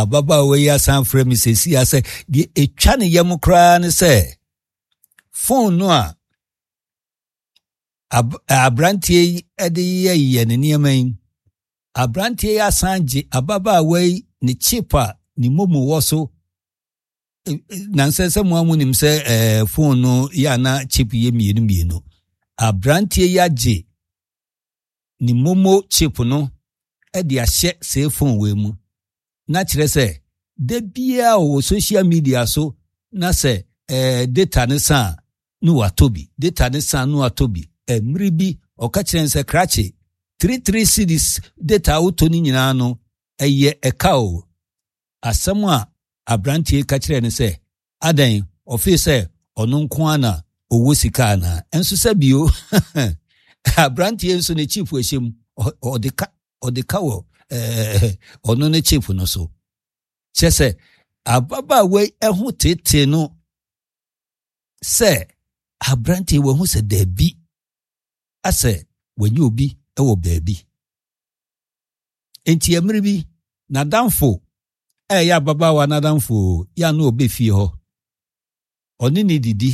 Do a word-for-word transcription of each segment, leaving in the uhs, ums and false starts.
Ababaawa yi asan frɛ me seesei a sɛ deɛ ɛtwa ne yam koraa ne sɛ phone no a ab aberanteɛ yi de yɛyɛ ne nneɛma yi, aberanteɛ yi asan gye ababaawa yi ne chip a ne momo wɔ so. Nansɛ sɛ mo a monim sɛ ɛɛ phone no yɛ ana chip yɛ mmienu mmienu. Aberanteɛ yi agye ne momo chip no de ahyɛ saa phone wei mu, na kyerɛ sɛ da biara wɔ social media so na sɛ ɛɛ data ne sa a ne watɔ bi, data ne sa ne watɔ bi. Mmere bi ɔka kyerɛ sɛ krakye three three cedis data a wotɔ no nyinaa no ɛyɛ ɛka o. Asɛm a aberanteɛ ka kyerɛ no sɛ adan ɔfee sɛ ɔno nko ara na ɔwɔ sika anaa? Nso sɛ bio aberanteɛ nso ne chip ɛhyɛ mu, ɔde ka ɔde ka wɔ ɛɛ ɔno ne chip no so. Kyerɛ sɛ ababaawa yi ɛho tete no sɛ aberanteɛ wahu sɛ daabi, asɛ wanya obi wɔ baabi. Nti mmerɛ bi n'adamfo a ɛyɛ ababaawa n'adamfo yɛ ano ɔbɛ fie hɔ, ɔne ne didi.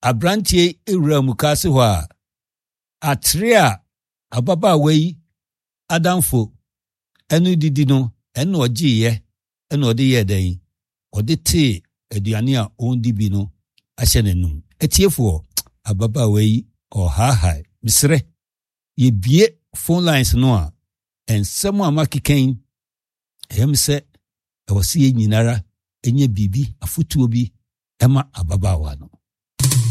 Aberanteɛ ewura mukaase hɔ a atere a ababaawa yi adamfo ɛno didi no, ɛna ɔgyeeɛ, ɛna ɔde yɛɛ dɛn, ɔde tee aduane a ɔndi bi no ahyɛ n'anum. Atiefoɔ, ababaawa yi ɔhaahae. Mesrɛ yɛbie phone lines no a, nsɛm a makeka yi, ɛyɛ me sɛ ɛwɔ sɛ yɛn nyinara ɛnyɛ biribi afotuo bi ɛma ababaawa no.